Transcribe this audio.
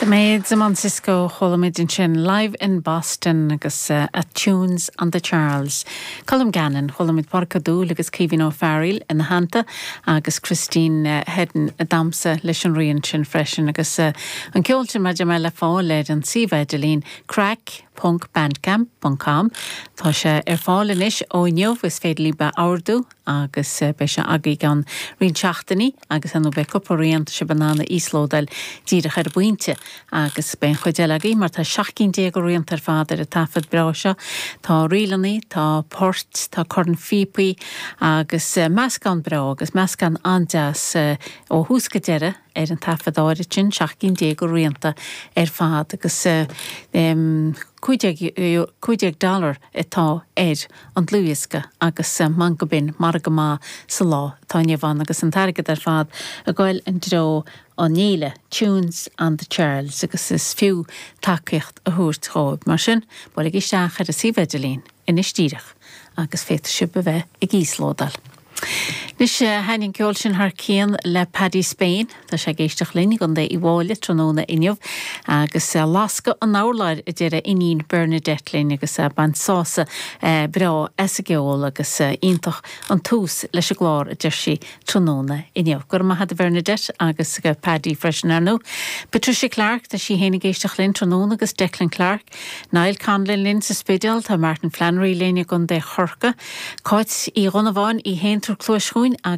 Maids i mbun Cisco, chuala muid ansin Live in Boston agus Tunes on the Charles. Colm Gannon, chuala muid Pádraic Ó Dúill agus Caoimhín Ó Fearghaíl ina theannta agus Christine Heddon ag damhsa leis an rian sin freisin agus an ceol sin mar a deir mé le fáil ar an suíomh idirlín craic ponc bandcamp ponc com. Tá sé ar fáil anois ó inniu, is féidir libh a ordú. agus beidh sé agaibh i gceann roinnt seachtainí agus ar ndóigh beidh cúpla rian tá sibh in ann a íoslódáil díreach ar an bpointe agus beidh an chuid eile agaibh mar tá 17 cinn de rianta ar fad ar an taifead breá seo. Tá ríleanna, tá poirt, tá cornphíopaí agus meascán breá agus meascán an-deas ó thús go deireadh ar an taifead áirid sin, 17 cinn de rianta ar fad agus 15 dollar atá ar an dlúthdhiosca agus man go b'in margadh maith sa lá atá inniu ann agus an t-airgead ar fad ag goil i dtreo an fhéile Tunes on the Charles agus is fiú tacaíocht a thabhairt dhóibh. Mar sin, buailigí isteach ar an suíomh idirlín anois díreach agus féadfaidh sibh a bheith ag íoslódáil. Anois, thaitin an ceol sin thar cionn le Paddy Spain. Tá sé ag éisteacht linn i gContae Uíbh Fhailí tráthnóna inniu agus lascadh an urláir a deir a iníon Bernadette linn agus ag baint sásamh breá as an gceol agus iontach an tús leis an gclár a deir sí tráthnóna inniu. Go raibh maith agat a Bhernadette agus go Paddy freisin ar ndóigh. Patricia Clarke, tá sí féin ag éisteacht linn tráthnóna agus Declan Clarke. Niall Conlon linn sa Spidéal, tá Martin Flannery linn i gContae Chorcaí, Cáit Uí Dhonnabháin í féin ag tabhairt cluais chugainn agus.